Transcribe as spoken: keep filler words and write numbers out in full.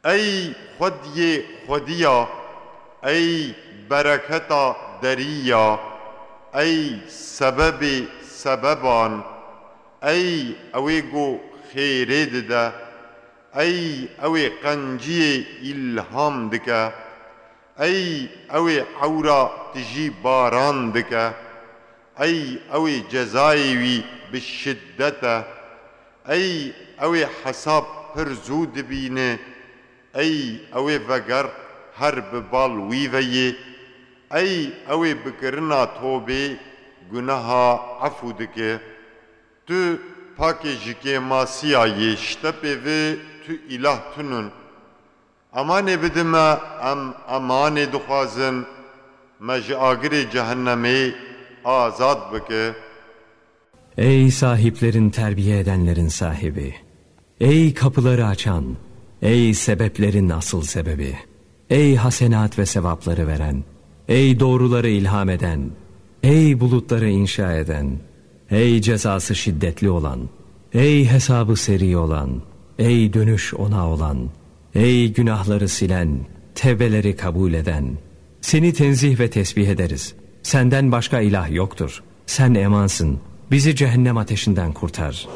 Ey xwediyê xwediya, ey bereketa deriya, ey sebebê sebeban, ey ewê ku xêrê dide, ey ewê qenciyê îlham dike, ey ewê ewra tijî baran dike, ey ewê cezayê wî bi şiddet e, ey ewê hesab pir zû dibîne, ey ewê veger her bi bal wî ve yê, ey ewê bikirina tobê guneha efû dike. Tu pakê ji kêmasiya yê, ji te pê ve tu îlah tunun. Emanê bide me, em emanê dixwazin, me ji agirê cehennemê azad bike. Ey sahiplerin terbiye edenlerin sahibi! Ey kapıları açan, ey sebeplerin asıl sebebi! Ey hasenat ve sevapları veren, ey doğruları ilham eden, ey bulutları inşa eden, ey cezası şiddetli olan, ey hesabı seri olan, ey dönüş ona olan, ey günahları silen, tevbeleri kabul eden! Seni tenzih ve tesbih ederiz. Senden başka ilah yoktur. Sen emansın. Bizi cehennem ateşinden kurtar.